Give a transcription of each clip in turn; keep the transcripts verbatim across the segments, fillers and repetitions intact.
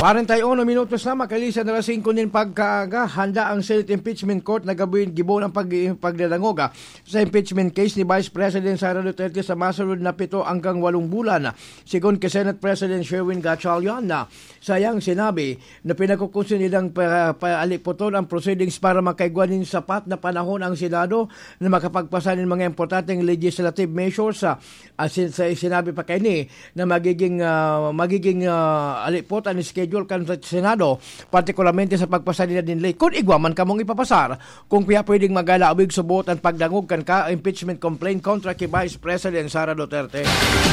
Arentai uno minutos na, makalisan na alas singko nin pagkaaga, handa ang Senate Impeachment Court na gabin gibo ng pag-, pagdadangog, ah, sa impeachment case ni Vice President Sara Duterte sa masunod na pito hanggang walong bulan. Sigon kay Senate President Sherwin Gatchalian, na sayang sinabi na pinagkukunsi nilang pa-, paalipoton ang proceedings para makaigwa nin sapat na panahon ang Senado na makapagpasa nin mga importanteng legislative measures, ah, Asin sa sinabi pa kaini na magiging, ah, magiging, ah, alipot an schedule kan sa Senado, partikularmente sa pagpasa nila nin ley. Kun igwa man kamong ipapasar, kung kaya pwedeng magalawig subot an pagdangog kan ka-, impeachment complaint kontra ki Vice President Sara Duterte.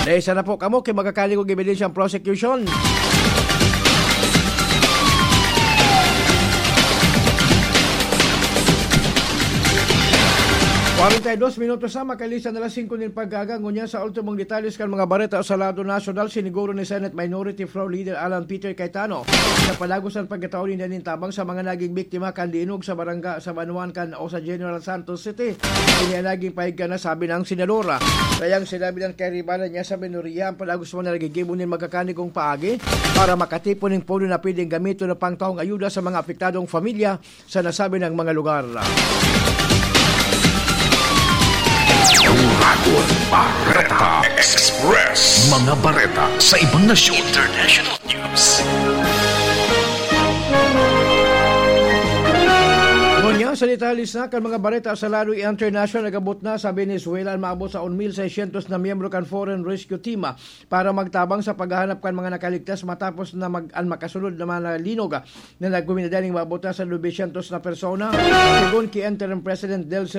Dahil sana po kamo kay magkakaligog ebidensyang prosecution. Kwarenta y dos minutos na, makalisan na alas singko nin pagkaaga. Ngunyan sa ultimong detalles kan mga bareta sa lado nasyonal, siniguro ni Senate Minority Floor Leader Alan Peter Cayetano na padagos an pagkatao ninda nin tabang sa mga naging biktima kan linog sa barangay sa Banwan kan o sa General Santos City. Ini ang naging pahayag na sabi ng senadora. Kaya ang sinabi ng kaibahan niya sa minorya, ang padagos man na nagigibo nin magkakanigong paagi para makatipon nin pondo na pwedeng gamiton na pangtaong ayuda sa mga apektadong pamilya sa nasabi ng mga lugar. Dragon Bareta Express. Mga bareta sa ibang nasyon. International news. Ngunyan sa detalye sa kan mga bareta sa lado international, nagabot na sa Venezuela ang maabot sa un mil seiscientos na miyembro kan Foreign Rescue Team para magtabang sa paghahanap kan mga nakaligtas matapos na mag-, an makasunod na mga linog na nagkuminadaling maabot na sa nobesyentos na persona. Sigon ki Interim President Delcy